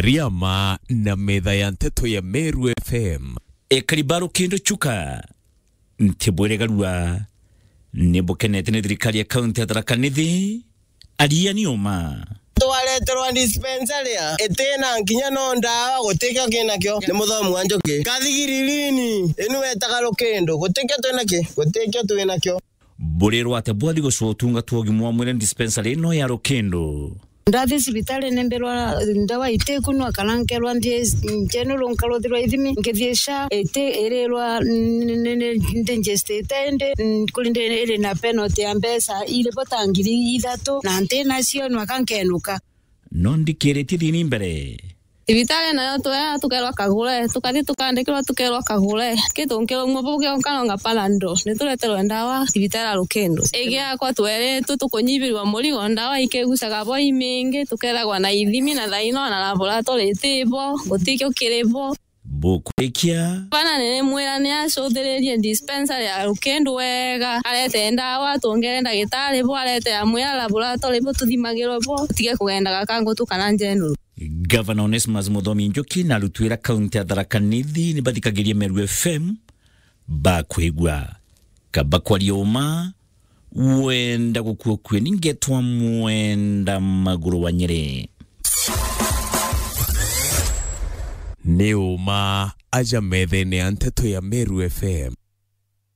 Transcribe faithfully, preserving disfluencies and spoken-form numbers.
Riama na metha ya nteto ya Meru F M. Ekari ba Rukindo Chuka, ntibweregarua, ni bukenete ni thirikari ya kaunti ya Tharaka Nithi, aria ni uma. Twareterwa dispensary ya itina nkinya no ndawa, gutikio kinakio. Ni muthomi wa njuki. Kathigiri lini, inu wetaga Rukindo, gutikio twinaki, gutikio twinakio. Burirwa atia bwathi gucua utungatwa ugima wa mwiri dispensary ino ya Rukindo? Ndathi cibitari ni mbirwa ndawa itikunwa kana nkerwa nthie general nkaruthirwa ithimi, nkithie sha iti irirwa n-, n-, n-, ndi njistite indi, n-, kuri ndi iri na penalty ya mbeca iri bota ngiri ithatu na nti nacio nwaka nkenuka. No ndikiritie thiini mbere. Thibitari nayo twea tukerwa kagure, tukathi tukandikirwa tukerwa kagure. Kitu nkirumwa bu gionka nonga Panadol, ni tureterwe ndawa thibitari ya Rukindo. Igiakwa tweritwe tukunyibirwa murigo, ndawa ikigucaga bo imingi, tukeragwa na ithimi na thaino na laboratory iti bo, gutikio kiri bo. Bukurikia. Bana nene mwira ni acuthiririe dispensary ya Rukindo wega, arete ndawa, tuongere ndagitari bo, arete amwira laboratory bo, tuthimagirwe bo, tutige kugendaga kangutu kana general. Gavana Onesmus Muthomi Njuki na arutwira kaunti ya Tharaka Nithi ni bathikagiria Meru F M, bakwigua. Kaba kwaria uma, wenda gukua kue, ningetwa Mwenda Maguru wa Nyeri. Ni uma aja methene ya nteto ya Meru F M.